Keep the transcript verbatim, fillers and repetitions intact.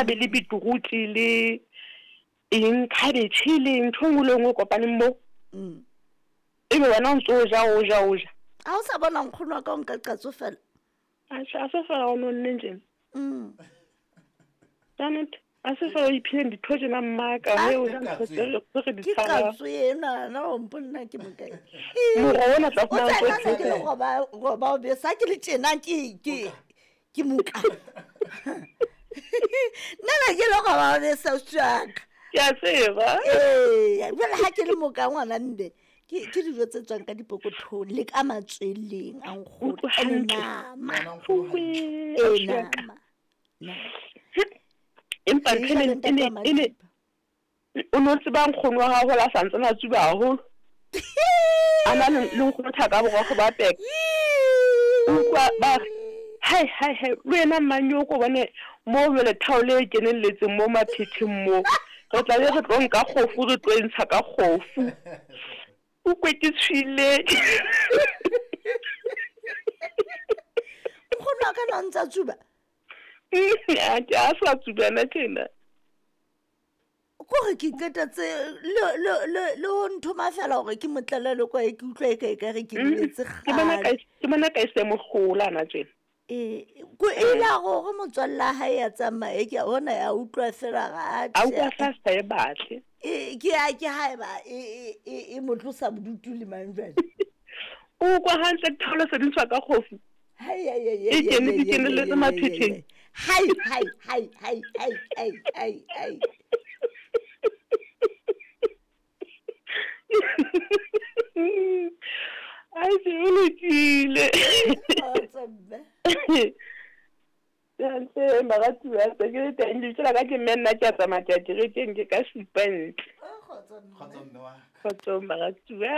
tla be le beetroot le eng cabbage le ntho e nngwe le e nngwe e kopaneng moo. Mm. Ebe wena o ntso o ja o ja o ja. A o sa bona nkgono wa ka o nka qatso fela? Atjhe, a se fela o nonne tjena. Mm. Ka nnete, a se fela o iphileng ditho tjena mmaka, Ah, he o ja ntho tse re tse re di Ke tshabang. qatso ena na o mponna ke mokae? Moroho ona tla O fumana tsena ntse se ke le o roba roba o besa ke le tjena ke ke ke moka. Nna ne ke le roba o besa ausi wa ka. Ke a tseba. Ee, jwale ha ke le moka ngwana mme ke ke dijo tse tswang ka dipokothong le ka matsweleng a nkgono Utlwa ene hantle. nama. Ngwana nkgono hantle. Uwe, Ee, ausi wa ka. nama. Nama. Empa Re ntho e ja e le neng- e ntate ne wa e ne Madiba. o no tseba nkgono wa hao hola a sa ntsane a tsuba haholo. A na le le nkgono thaka borokgo ba peka. Utlwa ba re, hai hai hai, le wena mmanyoko bone mo jwale thaole e kenelletseng mo maphetheng mo. Re tla be re tlo nka kgofu re tlo e ntsha ka kgofu. O kwe ke tshwile. Nkgono wa ka na ntsa tsuba? Atjhe, a sa tsubana tjena. Kore ke qetetse le le le le ho nthoma fela hore ke mo tlele le kwae ke utlwa e ka ekare ke Mm, lebetse Ke bona ka kgale. ke bona ka e se mogola ana tjena. Ee, ko e ile a re hore motswalle wa hae a tsamaye ke a bona ya utlwa fela hore A atjhe. utlwa sa sa e batle. E ke a ke haeba e e e e mo tlosa bodutu le mang jwale. O kwa hantle thaole se di ntshwa ka kgofu. Hai hai hai E hai kene hai di hai kenelletse hai hai maphetheng. hai. Hai hai hai hai hai hai hai hai. Ai se o lokile. Kgotso mme. Hantle baratuwa tse ke le teng lebitso la ka ke mme nna ke a tsamaya ke ya kerekeng ke ka supa ntle. Oh, kgotso mme. Kgotso mme wa ka. Kgotsong baratuwa.